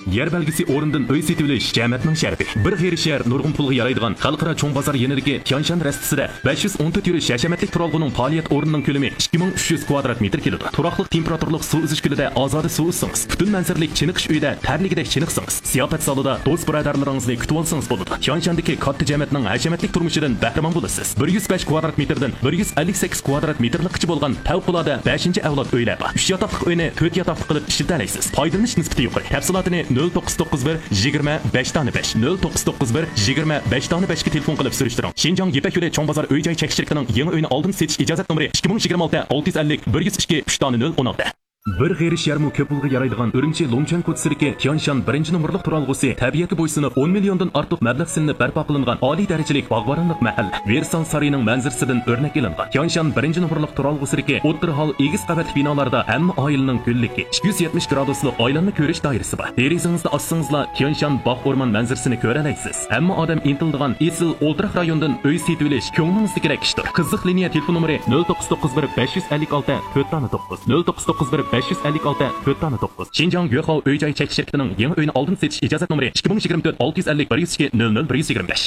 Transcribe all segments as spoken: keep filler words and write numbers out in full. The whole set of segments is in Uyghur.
يەر بەلگىسى ئورنىدىن ئۆي سېتىۋېلىش جەمەتنىڭ شەرىپى. بىر غېرىب شەھەر نۇرغۇن پۇلغا يارايدىغان خەلقئارا چوڭ بازار يېنىدىكى تيانشان رەستىسىدە بەش يۈز ئون تۆت يۈرۈش ھەشەمەتلىك تۇرالغۇنىڭ پائالىيەت ئورنىنىڭ كۆلىمى ئىككى مىڭ ئۈچ يۈز كۋادرات مېتىر كېلىدۇ. تۇراقلىق تېمپېراتۇرىلىق سۇ ئۈزۈش كۆلىدە ئازادە سۇ ئۈزسىڭىز، پۈتۈن مەنزىرىلىك چېنىقىش ئۆيىدە تەرلىگۈدەك چېنىقسىڭىز، زىياپەت زالىدا دوست بۇرادەرلىرىڭىزنى كۈتۈۋالسىڭىز بولىدۇ. تيانشاندىكى كاتتا جەمەتنىڭ ھەشەمەتلىك تۇرمۇشىدىن بەھرىمەن بولىسىز. بىر يۈز بەش كۋادرات مېتىردىن بىر يۈز ئەللىك سەككىز كۋادرات مېتىرلىققىچە بولغان پەۋقۇلئاددە بەشىنچى ئەۋلاد ئۆيلەر بار. ئۈچ ياتاقلىق ئۆينى تۆت ياتاقلىق قىلىپ ئىشلىتەلەيسىز. پايدىلىنىش نىسبىتى يۇقىرى. تەپسىلاتىنى نۆل توققۇز توققۇز بىر يىگىرمە بەش دانە بەش، نۆل توققۇز توققۇز بىر يىگىرمە بەش دانە بەشكە تېلېفون قىلىپ سۈرۈشتۈرۈڭ. شىنجاڭ يىپەك يولى چوڭ بازار ئۆي جاي چەكلىك شىركىتىنىڭ يېڭى ئۆينى ئالدىن سېتىش ئىجازەت نومۇرى ئىككى مىڭ يىگىرمە ئالتە ئالتە يۈز ئەللىك بىر يۈز ئىككى ئۈچ دانە نۆل ئون ئالتە. بىر غېرىب شەھەرمۇ كۆپ پۇلغا يارايدىغان ئۈرۈمچى لۇڭچۈەن كوچىسىدىكى تيانشان بىرىنچى نومۇرلۇق تۇرالغۇسى تەبىئەتكە بويسۇنۇپ، ئون مىليوندىن ئارتۇق مەبلەغ سېلىنىپ بەرپا قىلىنغان ئالىي دەرىجىلىك باغۋەنلىك مەھەللە. ۋېرسال سارىيىنىڭ مەنزىرىسىدىن ئۆرنەك ئېلىنغان. تيانشان بىرىنچى نومۇرلۇق تۇرالغۇسىدىكى ئوتتۇرا ھال ئېگىز قەۋەتلىك بىنالاردا ھەممە ئائىلىنىڭ گۈللۈكى، ئىككى يۈز يەتمىش گرادۇسلۇق ئايلانما كۆرۈش دائىرىسى بار. دېرىزىڭىزنى ئاچسىڭىزلا تيانشان باغ ئورمان مەنزىرىسىنى كۆرەلەيسىز. ھەممە ئادەم ئىنتىلىدىغان ئېسىل ئولتۇراق رايوندىن ئۆي سېتىۋېلىش كۆڭلىڭىزدىكىدەك ئىشتۇر. قىزىق لىنىيە تېلېفون نومۇرى نۆل توققۇز توققۇز بىر بەش يۈز ئەللىك ئالتە تۆت دانە توققۇز، نۆل توققۇز توققۇز بىر بەش يۈز ئەللىك ئالتە تۆت دانە توققۇز. شىنجاڭ يۆخاۋ ئۆي جاي چەكلىك شىركىتىنىڭ يېڭى ئۆينى ئالدىن سېتىش ئىجازەت نومۇرى ئىككى مىڭ يىگىرمە تۆت ئالتە يۈز ئەللىك بىر يۈز ئىككى نۆل نۆل بىر يۈز يىگىرمە بەش.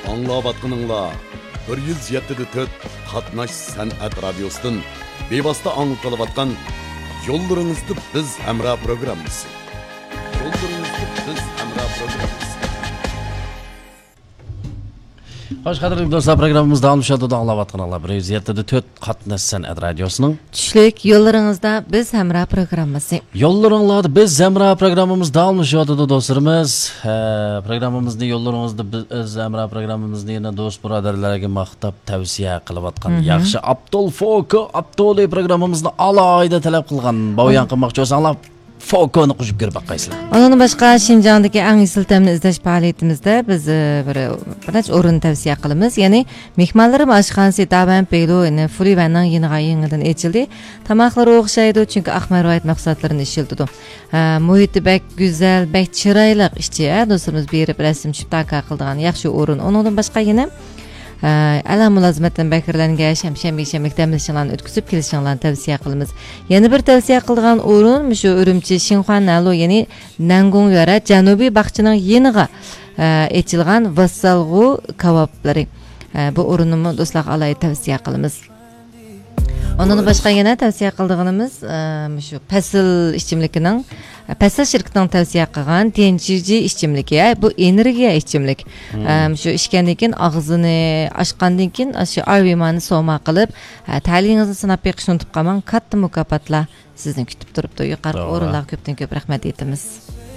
ئاڭلاۋاتقىنىڭلار بىر يۈز يەتتە دە تۆت قاتناش سەنئەت رادىيوسىدىن بىۋاسىتە ئاڭلىتىلىۋاتقان يوللىرىڭىزدا بىز ھەمراھ پروگراممىسى. يوللىرىڭىزدا بىز ھەمراھ پروگراممىسى. خوش، قەدىرلىك دوستلار، پروگراممىمىز داۋاملىشىۋاتىدۇ. ئاڭلاۋاتقىنىڭلار بىر يۈز يەتتە دە تۆت قاتناش سەنئەت رادىيوسىنىڭ چۈشلۈك يوللىرىڭىزدا بىز ھەمراھ پروگراممىسى. يوللىرىڭلاردا بىز ھەمراھ پروگراممىمىز داۋاملىشىۋاتىدۇ، دوستلىرىمىز. ھە، پروگراممىمىزنى يوللىرىڭىزدا بىز ھەمراھ پروگراممىمىزنى يەنە دوست بۇرادەرلەرگە ماختاپ تەۋسىيە قىلىۋاتقان مھم. ياخشى ئابدۇل فوكو ئابدۇلى پروگراممىمىزنى ئالاھىدە تەلەپ قىلغان. باۋيان قىلماقچى بولساڭلار، فوكونى قوشۇپ كۆرۈپ باققايسىلەر. ئۇنىڭدىن باشقا، شىنجاڭدىكى ئەڭ ئېسىل تەمنى ئىزدەش پائالىيىتىمىزدە بىز، ئە، بىر، بىر نەچچە ئورۇننى تەۋسىيە قىلىمىز. يەنى مېھمانلىرىم ئاشخانىسى دابەن بېيلۇ، يەنى فۇلىۋەننىڭ يېنىغا يېڭىدىن ئېچىلدى. تاماقلىرى ئوخشايدۇ، چۈنكى ئاق مەرۋايىت مەھسۇلاتلىرىنى ئىشلىتىدۇ. ھە، مۇھىتى بەك گۈزەل، بەك چىرايلىق ئىچى، ھە، دوستلىرىمىز بېرىپ رەسىم چۈشۈپ تاكا قىلىدىغان ياخشى ئورۇن. ئۇنىڭدىن باشقا يەنە ئە، ئەلا مۇلازىمەتتىن بەھرىلەنگەچ ھەم شەمبە يېكشەمبىلىك دەم ئېلىشىڭلارنى ئۆتكۈزۈپ كېلىشىڭلارنى تەۋسىيە قىلىمىز. يەنە بىر تەۋسىيە قىلىدىغان ئورۇن مۇشۇ ئۈرۈمچى شىنخۇا نەلۇ، يەنى نەنگۇڭ يۈەنە جەنۇبىي باغچىنىڭ يېنىغا، ئە، ئېچىلغان ۋاسسالغۇ كاۋاپلىرى. ئە، بۇ ئورۇننىمۇ دوستلارغا ئالاھىدە تەۋسىيە قىلىمىز. ئۇنىڭدىن باشقا يەنە تەۋسىيە قىلىدىغىنىمىز، ئە، مۇشۇ پەسىل ئىچىملىكىنىڭ پەسىل شىركىتىنىڭ تەۋسىيە قىلغان تيەنچىجى ئىچىملىكى، بۇ ئېنېرگىيە ئىچىملىك. مم. ئەم، شۇ ئىچكەندىن كېيىن، ئاغزىنى ئاچقاندىن كېيىن، شۇ ئايۋىمانى سوما قىلىپ، ئە، تەلىيىڭىزنى سىناپ بېقىشنى ئۇنتۇپ قالماڭ، كاتتا مۇكاپاتلار سىزنى كۈتۈپ تۇرۇپتۇ. يۇقىرىقى توغرا. ئورۇنلارغا كۆپتىن كۆپ رەھمەت ئېيتىمىز.